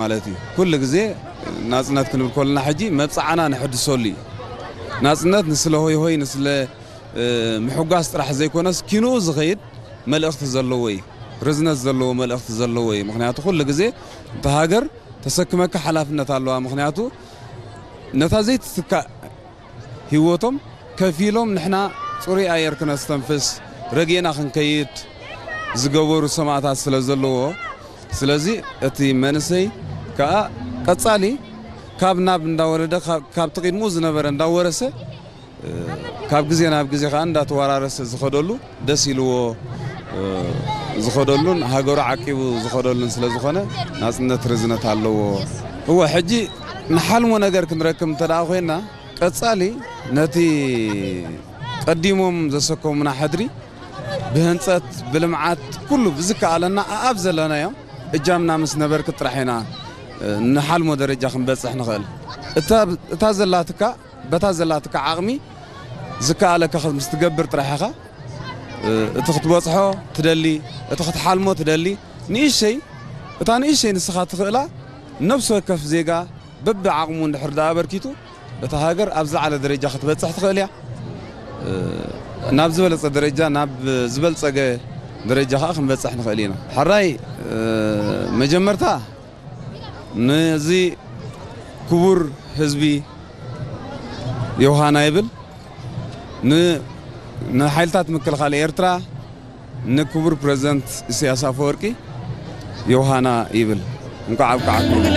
ማለት እዩ። ኩሉ ግዜ ናጽነት ክንብል ከለና ሕጂ መብጽዓና ንሕድሰሉ እዩ። ናጽነት ንስለ ሆይ ሆይ፣ ንስለ ምሕጓስ ጥራሕ ዘይኮነስ፣ ኪንኡ ዝኸይድ መልእኽቲ ዘለዎ እዩ። ርዝነት ዘለዎ መልእኽቲ ዘለዎ እዩ። ምኽንያቱ ኩሉ ግዜ እታ ሃገር ተሰክመካ ሓላፍነት ኣለዋ። ምኽንያቱ ነታ ዘይትትካእ ህይወቶም ከፊሎም ንሕና ጽሩይ ኣየር ክነስተንፍስ፣ ረጊእና ክንከይድ ዝገበሩ ሰማእታት ስለ ዘለዎ፣ ስለዚ እቲ መንእሰይ ከኣ ቀጻሊ ካብ ናብ እንዳወረደ፣ ካብ፣ ካብቲ ቅድሙ ዝነበረ እንዳወረሰ፣ ካብ ግዜ ናብ ግዜ ከኣ እንዳተወራረሰ ዝኸደሉ፣ ደስ ኢልዎ ዝኸደሉን ሃገሩ ዓቂቡ ዝኸደሉን ስለ ዝኾነ፣ ናጽነት ርዝነት ኣለዎ። እወ፣ ሕጂ ንሓልሞ ነገር ክንረክብ እንተ ደኣ ኮይንና፣ ቀጻሊ ነቲ ቀዲሞም ዘሰከሙና ሕድሪ ብህንጸት፣ ብልምዓት፣ ኩሉ ብዝከኣለና ኣኣብ ዘለናዮ እጃምና ምስ ነበርክት ጥራሕ ኢና ንሓልሞ ደረጃ ክንበጽሕ ንኽእል። እታ፣ እታ ዘላትካ፣ በታ ዘላትካ ዓቕሚ ዝከኣለካ ምስ ትገብር ጥራሕ ኢኻ እቲ ክትበጽሖ ትደሊ፣ እቲ ክትሓልሞ ትደሊ። ንእሽተይ፣ እታ ንእሽተይ ንስኻ ትኽእላ፣ ነፍሲ ወከፍ ዜጋ በብዓቕሙ እንድሕር ደኣ ኣበርኪቱ፣ እታ ሃገር ኣብ ዝለዓለ ደረጃ ክትበጽሕ ትኽእል እያ። ናብ ዝበለጸ ደረጃ፣ ናብ ዝበልጸገ ደረጃ ከኣ ክንበጽሕ ንኽእል ኢና። ሕራይ፣ መጀመርታ ነዚ ክቡር ህዝቢ ዮሃና ይብል፣ ን-፣ ንሓይልታት ምክልኻል ኤርትራ፣ ንክቡር ፕረዚደንት ኢሳያስ ኣፈወርቂ ዮሃና ይብል። እንኳዕ ኣብቅዓኩም።